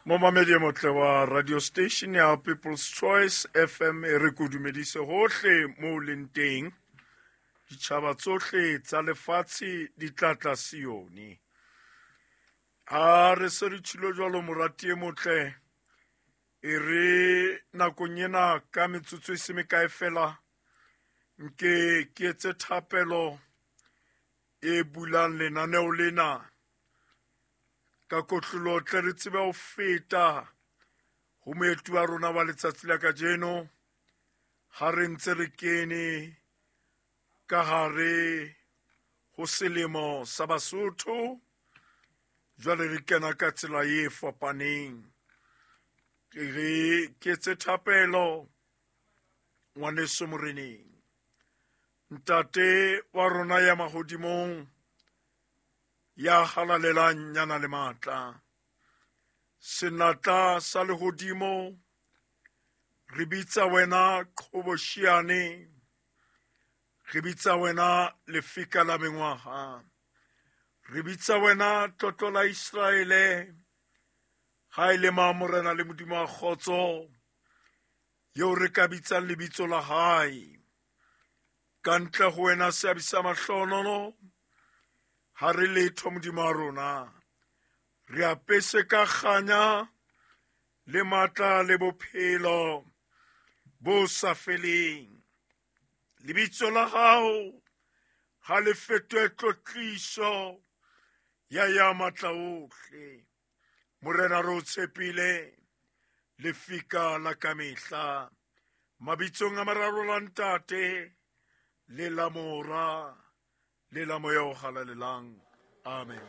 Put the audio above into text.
Momamedi e motle wa radio station ya People's Choice FM, e re ko dumedise hohle mo o leng teng. Ditjhaba tsohle tsa lefatshe di tla tla Sione. Ha re se re tshilo jwalo, morati e motle, e re nakong ena ka metsotso e se mekae fela nke ke etse thapelo e bulang lenaneo lena ka kotlolo, tle re tsebe ho feta ho moeti wa rona wa letsatsi la kajeno. Ha re ntse re kene ka hare ho selemo sa Basotho, jwale re kena ka tsela e fapaneng. Re ke etse thapelo, ngwaneso moreneng. Ntate wa rona ya mahodimong, ya halalelang, yana le matla, senatla sa lehodimo, re bitsa wena qhoboshiane, re bitsa wena lefika la mengwaha, re bitsa wena tlotlo la Israele. Ha e le ma morena le Modimo wa kgotso eo re ka bitsang lebitso la hae, ka ntle ho wena seabi sa mahlohonolo ha re letho. Modimo wa rona, re apese ka kganya le matla le bophelo bo sa feleng. Lebitso la hao ha le fetohe tlotliso ya matla ohle. Morena, re o tshepile, lefika la kamehla. Mabitsong a mararo, la Ntate le la Mora le la Moya o Halalelang, amen.